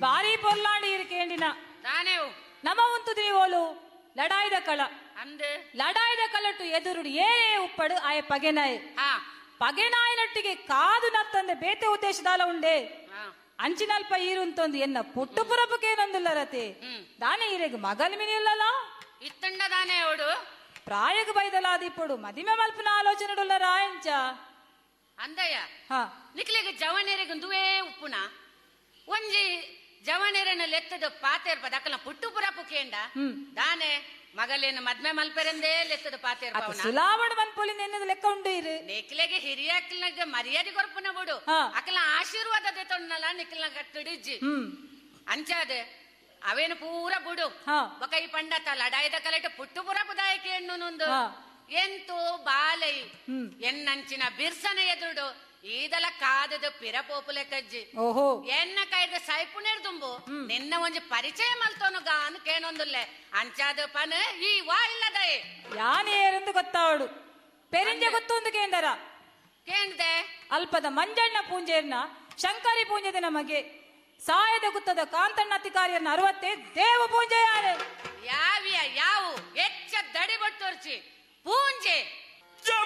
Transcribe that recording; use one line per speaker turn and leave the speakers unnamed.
ಬಾರಿ ಪೊರ್ಲಾಂಡಿ ಇರುಕೇಂಡಿನ
ತಾನೇವು
ನಮ ಉಂತುದಿ ಓಲು ಲಡಾಯ್ದ ಕಳ
ಅಂದು
ಲಡಾಯ್ದ ಕಳಟು ಎದುರುಡು ಏರೇ ಉಪ್ಪಡು ಆಯ ಪಗೆನಾಯ್
ಹಾ
ಪಗೆನಾಯನೊಟ್ಟಿಗೆ ಕಾದು ನತ್ತಂದೆ ಬೇತೆ ಉದ್ದೇಶದಾಲ ಉಂಡೆ
ಹಾ
ಅಂಚಿನಲ್ಪ ಈರುಂತೊಂದು ಎನ್ನ ಪುಟ್ಟು ಪುರಪುಕೇನೊಂದುಲ್ಲ ರತಿ ದಾನೆ ಈರೆಗ್ ಮಗಲ್ ಮಿನಿಲ್ಲಲ್ಲ
ಇತ್ತಂಡ ದಾನೆ ಅವಡು
ಪ್ರಾಯಗ ಬೈದಲಾದಿಪ್ಪಡು ಮದಿಮೆ ಮಲ್ಪನ ಆಲೋಚನೆಡುಲ್ಲ ರಾಯಂಚ
ಅಂದಯ್ಯ
ಹಾ
ನಿಕ್ಲೆಗ್ ಜವನೆರೆಗ್ ದುವೇ ಉಪ್ಪುನ ಒಂಜಿ ಜವನೆರನ ಲೆತ್ತದ ಪಾತೇರ್ಪ ದಕ್ಕಲ ಪುಟ್ಟು ಪುರಪು ಕೇಂಡ ದಾನೆ ಮಗಲೇನು ಮದ್ಮೆ ಮಲ್ಪೆರಂದೇ ಲೆತ್ತದ ಪಾತೇರ್ಪ
ಅತ್ತ
ಅವನ
ಸುಲಾವಣ ಮನ್ಪೊಲಿ ನೆನ್ನದ ಲೆಕ್ಕ ಉಂಡು ಇರು
ನಿಕ್ಲೆಗೆ ಹಿರಿಯಕ್ಲಗ ಮರ್ಯಾದೆ ಕೊರ್ಪುನ ಬಿಡು
ಹಾ.
ಅಕಲ ಆಶೀರ್ವಾದ ತೊಣ್ಣಲ ನಿಕ್ಲ ಕಟ್ಟಿಡಿಜ್ಜಿ
ಹ್ಮ್
ಅಂಚಾದೆ ಅವೇನು ಪೂರ ಬುಡು
ಹಾ.
ಬೊಕ ಈ ಪಂಡತ ಲಡಾಯ್ದ ಕಲೆಟ ಪುಟ್ಟು ಪುರಪು ದಾಯಕೆ ಹೆಣ್ಣು ನೊಂದು
ಹಾ.
ಎಂತು ಬಾಲೈ
ಹ್ಮ್.
ಎನ್ನಂಚಿನ ಬಿರ್ಸನ ಎದುರುಡು ಈದಲ ಕಾದದ ಪಿರಪೋಪುಲೆ ಕಜ್ಜಿ
ಓಹೋ
ಎನ್ನ ಕೈದ ಸೈಪುನೇರ್ ದುಂಬು ನಿನ್ನ ಒಂಜಿ ಪರಿಚಯ ಮಲ್ತೋನು ಗಾನು ಕೇನೊಂದುಲ್ಲೆ ಅಂಚಾದ ಪನ ಈ ವಾ ಇಲ್ಲದೈ
ಯಾನೇರೆಂದು ಗೊತ್ತಾವಡು ಪೆರಿಂಜ ಗೊತ್ತೊಂದು ಕೇಂದರ
ಕೇಂದ್ದೆ
ಅಲ್ಪದ ಮಂಜಣ್ಣ ಪೂಂಜೆಯನ್ನ ಶಂಕರಿ ಪೂಂಜೆದ ನಮಗೆ ಸಾಯದ ಗುತ್ತದ ಕಾಂತಣ್ಣ ಅಧಿಕಾರಿಯನ್ನ ಅರವತ್ತೆ ದೇವ ಪೂಂಜೆ ಯಾರು
ಯಾವಿಯ ಯಾವು ಹೆಚ್ಚ ದಡಿ ಬಟ್ಟೋರ್ಚಿ ಪೂಂಜೆ